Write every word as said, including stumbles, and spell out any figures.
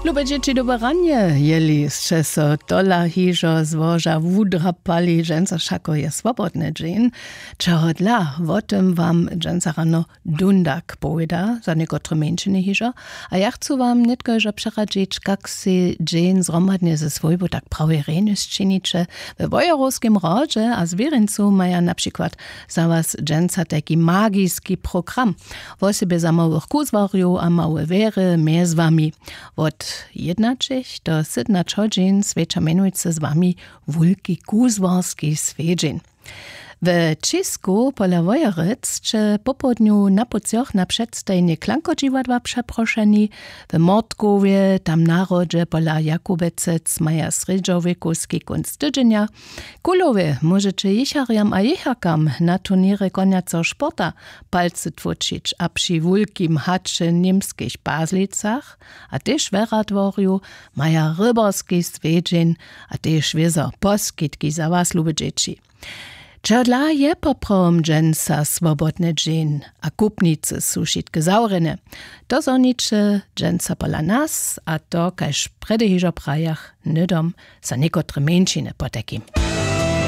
Lube dźěći, dobre ranje. Jeli sće so tola hižo z łoža wudrapali, dźensa wšako je swobodny dźeń. Čehodla, wo tym wam dźensa rano dundak powěda, za někotre mjeńšiny hižo. A ja chcu wam nětko hižo přeradźić, kak sej dźeń zhromadnje ze swójbu tak prawje rjenje sčiniće. We wojerowskim hrodźe a zwěrjeńcu maja na přikład za was dźensa tajki magiski program, wosebje za małych kuzłarjow a małe wěry mjez wami. Wot jědnaćich do sydomnaće hodźin swjeća mjenujcy z wami wulki kuzłarski swjedźeń. We ćisku pola wojerec će popołdnju na pucjoch na předstajenje klankodźiwadła přeprošeni. W mortkowje tam na hrodźe pola jakubecec maja srjedźowjekowski kónc tydźenja. Kulowje móžeće jěcharjam a jěcharkam na turněrje konjaceho sporta palcy tłóčić a při wulkim haće w němskich pazlicach a tež we radworju maja rybarski swjedźeń a tež wězo poskitki za was lube dźěći. Čehodla je poprawom dźensa swobodny dźeń a kupnicy su wšitke zawrjene? To zhoniće dźensa pola nas a to kaž prjedy hižo prajach hnydom za někotre mjeńšiny potajkim.